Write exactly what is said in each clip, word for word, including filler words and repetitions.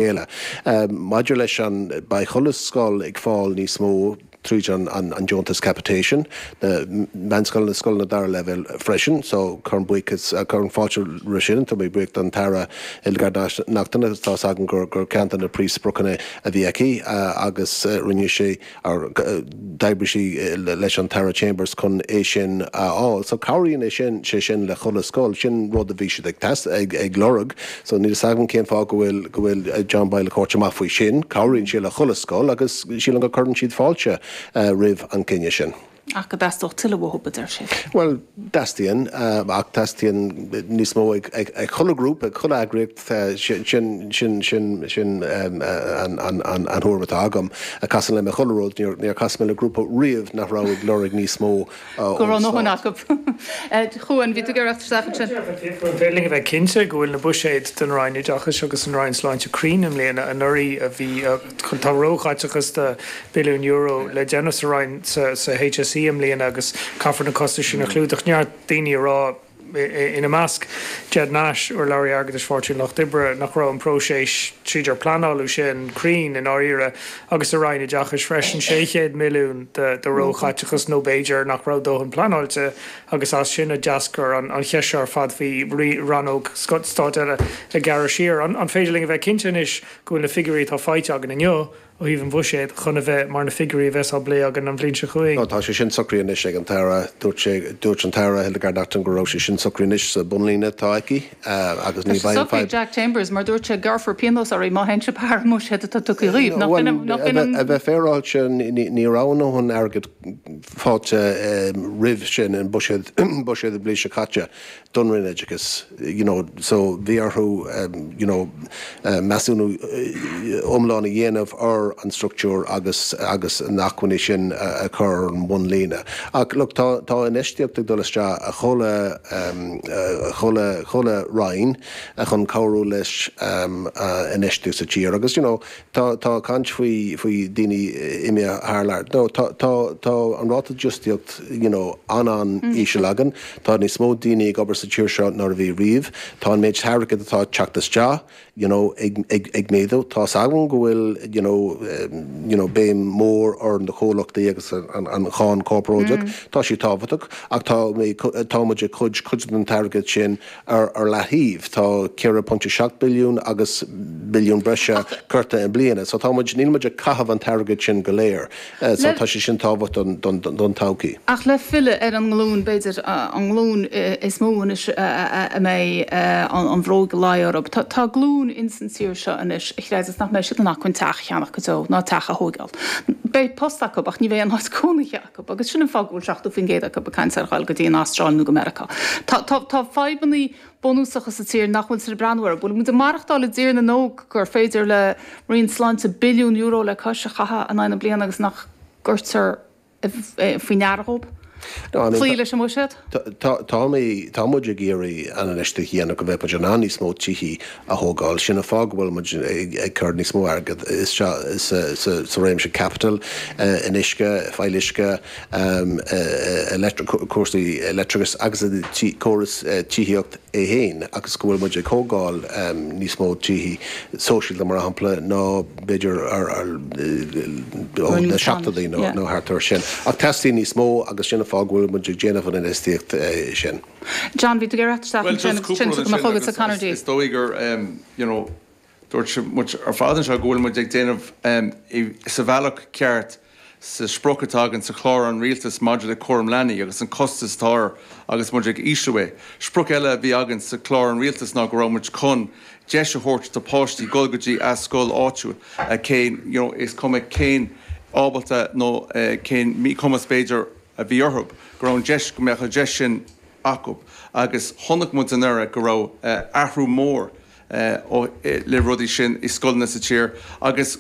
Chéile. Maidir leis an, beidh chuile scoil ag fáil níos mó tríd an an deontas capitation, na meánscoileanna, scoileanna dara leibhéal freisin, so cuirim buíochas, cuirim fáilte roimh sin, tá mé buíoch don tAire Hildegarde Naughton agus tá's agam gur gur ceann de na príomhspriocanna a bhí aici agus rinne sé, d'oibrigh sí leis an tAire Chambers chun é sin a fháil. So cabhraíonn é sin, sé sin le chuile scoil, sin rud a bhí siad ag ag ag lorg. So níl fhios agam cén fáth go bhfuil go bhfuil John Boyle ag tabhairt amach faoi sin. Cabhraíonn sé le chuile scoil agus sílim go cuireann siad fáilte roimh an gcinneadh sin. Ach go dteastódh tuilleadh uathu, a deir sé. Bhuel, teastaíonn, ach teastaíonn níos mó ag ag chuile ghrúpa, ag chuile eagraíocht, sin sin sin sin an an an thuairim atá agam. Casann liom i chuile rud, níor níor chas mé le grúpa riamh nach raibh ag lorg níos mó Go raibh a ndóthain acu. Chuan, bhí tú ag iarraidh isteach ansin. An féidir linn a bheith cinnte go bhfuil na buiséid don Roinn Oideachais agus an Roinn Sláinte cruinn i mbliana? Anuraidh a bhí, tá róchaiteachas de billiún euro le déanamh sa Roinn, sa HSE i mbliana agus caithfear na costais sin a chlúdach. Neart daoine ag rá, ina measc Ged Nash, urlabhraí airgeadais Pháirtí an Lucht Oibre, nach raibh an próiseas tríd ar pleanáladh sin cruinn i ndáiríre agus sa Roinn Oideachais freisin, sé chéad milliún de róchaiteachas nó b'fhéidir nach raibh dóthain pleanáilte agus as sin a d'eascair an cheist seo ar fad faoi rannóg stáit eile a ghearradh siar. An féidir linn a bheith cinnte anois go bhfuil na figiúirí atá faighte againn inniu ó thaobh an bhuiséid chun a bheith mar na figiúirí a bheas á bplé againn an bhliain seo chugainn. Tá sé sin socraithe anois ag an tAire. Dúirt sé, dúirt an tAire Hildegarde Naughton go raibh sé sin socraithe anois sa bhunlíne atá aici agus ní bheidh Tá sé aon socraithe ag fadhb. Jack Chambers mar dúirt sé gearrfar pionós oraibh má théann sibh thar an mbuiséad atá tugtha dhaoibh. Nach Bhuel, in, nach in an. a bheith féaráilte, ní raibh a ndóthain airgid faighte roimh sin i mbuiséad, buiséad an bhliain seo caite. don Roinn Oideachais you know so bhí orthu you know measúnú iomlán a dhéanamh ar an struchtúr agus agus na acmhainní sin a chur ar an mbunlíne. Ach look tá tá infheistíocht ag dul isteach i chuile chuile chuile roinn chun cabhrú leis infheistíocht sa tír agus you know Tá, tá caint faoi, faoi daoine imithe thar lear. No, tá, tá, tá an ráta dífhostaíocht, you know, an-an-íseal againn. Tá níos mó daoine ag obair sa tír seo ná a bhí riamh. Tá an méid airgid atá ag teacht isteach, you know, ag, ag, ag méadú. Tá's agam go bhfuil, you know, you know, béim mhór ar na comhlachtaí agus an, an cháin chorparáideach. Tá sí tábhachtach ach tá mé, tá muid ag cur cuid den t-airgead sin ar, ar leataobh. Tá ceithre pointe seacht billiún agus billiún breise curtha i mbliana. So tá muid, níl muid ag caitheamh an t-airgead sin go léir. So tá sé sin tábhachtach don, don todhchaí. Ach le filleadh ar an nglúin, b'fhéidir, an nglúin is mó anois a mbeidh an bhróg ag luí orthu. Tá glúin ins an tír seo anois a chreideas nach mbeidh siad in acmhainn teach a cheannach go deo, ná teach a thóigeáil. Beidh post acu ach ní bheidh aon áit cónaithe acu agus sin an fáth go bhfuil seachtó faoin gcéad acu ag caint ar ghoil go dtí an Astráil nó go Meiriceá. Tá, tá, tá fadhbannaí bunúsacha sa tír nach bhfuiltear ag breathnú orthu. Bhfuil muid ag maireachtáil i dtír na nÓg gur féidir le Roinn Sláinte billiún euro le cois a chaitheamh in aghaidh na bliana agus nach gcuirtear faoi ndeara dhóibh cloí leis an mbuiséad? Tá mé, tá muid ag iarraidh an infheistíocht a dhéanamh go mbeidh muid in ann níos mó tithí a thógáil. Sin an fáth go bhfuil muid ag cur níos mó airgead isteach sa réimse caipitil, in uisce, fuíolluisce, cúrsaí leictreachais agus i córas tithíocht é féin agus go bhfuil muid ag thógáil níos mó tithí sóisialta mar shampla ná b'fhéidir ó na seachtóidí nó thart air sin. Ach teastaíonn níos mó agus sin an fáth go bhfuil muid ag déanamh an infheistíocht sin. John, bhí tú ag iarraidh theacht isteach Bhuel, ansin just agus cúpla ansin rud tugann mo ansin chugatsa agus Conor is D. is dóigh gur you know dúirt muid ar fad anseo go bhfuil muid ag déanamh sa bhealach ceart sa sprioc atá againn sa chlár an Rialtais maidir le cúram leanaí agus an costas atá air agus muid ag ísliú é. Sprioc eile a bhí againn sa chlár an Rialtais ná go raibh muid chun deis a thabhairt do páistí dul go dtí a scoil áitiúil cén you know is cuma cén ábalta nó cén míchumas b'fhéidir a bhí orthu go raibh an deis go mbeadh an deis sin acu agus chonaic muid anuraidh go raibh athrú mór le rudaí sin i scoileanna sa tír agus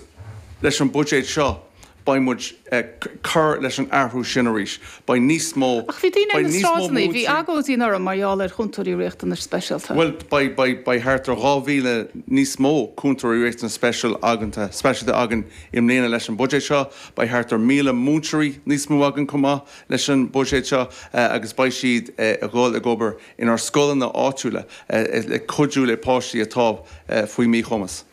leis an buiséad seo beidh muid ag cur leis an athrú sin arís. Beidh níos mó, Ach bhí daoine ar beidh na níos mó sráideanna, bhí múinteoirí. agóidí anuraidh mar gheall ar chúntóirí riachtanais speisialta. Bhuel, beidh, beidh, beidh thart ar dhá mhíle níos mó cúntóirí riachtanais speisial againn, speisialta againn i mbliana leis an buiséad seo. Beidh thart ar míle múinteoirí níos mó againn chomh maith leis an buiséad seo agus beidh siad ag dhul ag obair inár scoileanna áitiúla le cuidiú le páistí atá faoi mhíchumas.